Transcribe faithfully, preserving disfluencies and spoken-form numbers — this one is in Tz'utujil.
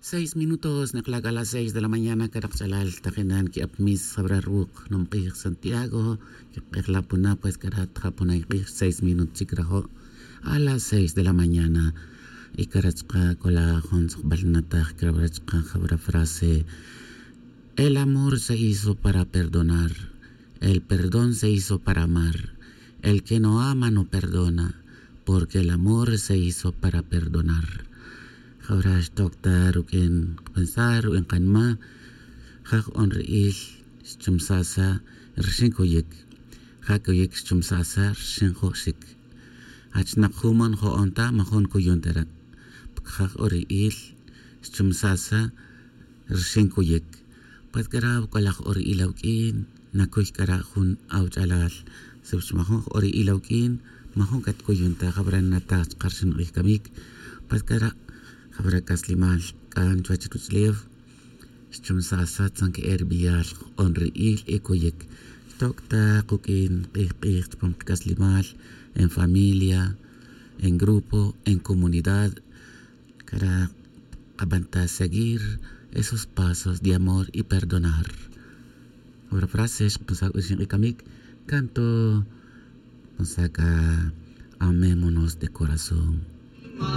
Seis minutos nekla' k'a las seis de la mañana. K'ara' kach'alal tajinan ki'ap mis jab'ra ruuk' jnum q'ij santiago. Kik'ejla' puna pues k'ara' tja' puna k'ij seis minutos chik rajo' a las seis de la mañana. Y k'ara' chka' kola' jun tz'uqb'al nataj k'ara' chka' jab'ra frase: el amor se hizo para perdonar. El perdón se hizo para amar. El que no ama no perdona, porque el amor se hizo para perdonar. Jawra xtok ta ruk'in qapensar ruk'in qanma. Ja' jo'on ri'il xchumsasa rxin kuyik. Ja' kuyik xchumsasa rxin jo'xik. Jach naq jumon jo'on ta majun kuyun ta ra'. Porque ja' jo'on ri'il xchumsasa rxin kuyik. Pues k'ara' wuk'alaj ora ila wuk'in nakuy k'ara' jun awach'alal. Si wach majun ora ila wuk'in majun katkuyun ta jab'ra nataj chka rxin q'ij kamik. Pues k'ara' jab'ra k'aslimal k'an chuwach ruch'lew. Xchumsasa tzan ke'e ri b'eyal jo'on ri'il y kuyik. Xtok' ta quk'in q'ij q'ij chupam qak'aslimal, en familia, en grupo, en comunidad. K'ara' kab'an ta seguir esos pasos de amor y perdonar. Ora frase xkapensar k'uxin q'ij kamik. Canto. Pensar k'a: amémonos de corazón.